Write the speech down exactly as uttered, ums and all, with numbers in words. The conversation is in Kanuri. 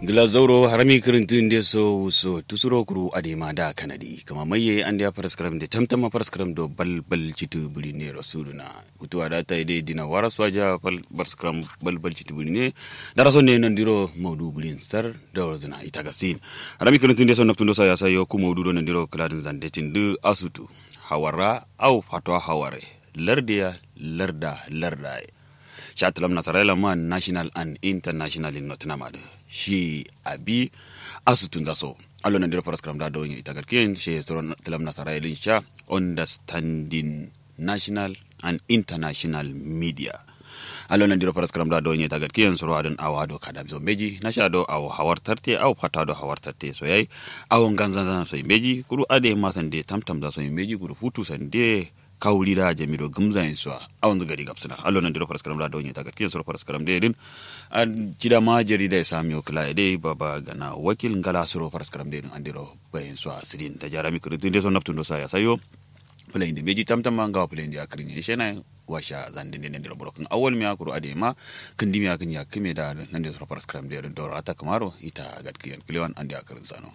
Gla zauro harami kǝrǝntǝ nde so wuso tusuro kuru adai ma da kanadi kǝma mai ye andeya faraskaram nde tamtamma faraskaram do balbal citǝ bǝri nero suduna. Futuwa da tai dai dina wara swaja faraskaram balbal citǝ bǝri ne. Dara so ne nandiro maudu bǝrin sar da warzǝna ita gasin. Harami kǝrǝntǝ nde so naftundo sa ya sayo ku maudu do nandiro kǝladǝn zandetin dǝ asutu hawara au fatwa haware lardeya larda lardaye. Sha tǝlam nasaraye lamma national and international in notǝnama dǝ shi abi asutunza so. Allo nandiro faraskaram da dawonye ita gatkiyen shi tǝlam nasaraye dǝn sha understanding national and international media. Allo nandiro faraskaram da dawonye ita gatkiyen suro adǝn awa do kadam so mbeji nasha do awo hawar tarte awo fata do hawar tarte so yayi. Awo nganzanzan so mbeji kuru adai ma sande tamtamza so mbeji kuru futu sande. Kawuri da jami do gǝmzayin so a awonzǝ gari gabsǝna allo nandiro faraskaram da dawonye ita gatkiyen suro faraskaram dai dǝn. An cida ma jarida ye samiyo kǝla ye dai baba gana wakil ngala suro faraskaram dai dǝn andiro bayin so a sǝdin da jarami kǝrǝntǝ nde so naftundo sa ya sayo. Fǝlayin dǝ mbeji tamtamma ngawo fǝlayin dǝ ya kǝrǝnye ishe na washa zandǝn dǝ nandiro burokǝn awal miya kuru adai ma kǝndimiya kǝn ya kǝme da nande suro faraskaram dai dǝn doro ata kǝmaro ita gatkiyen kǝlewan andeya kǝrǝnsano.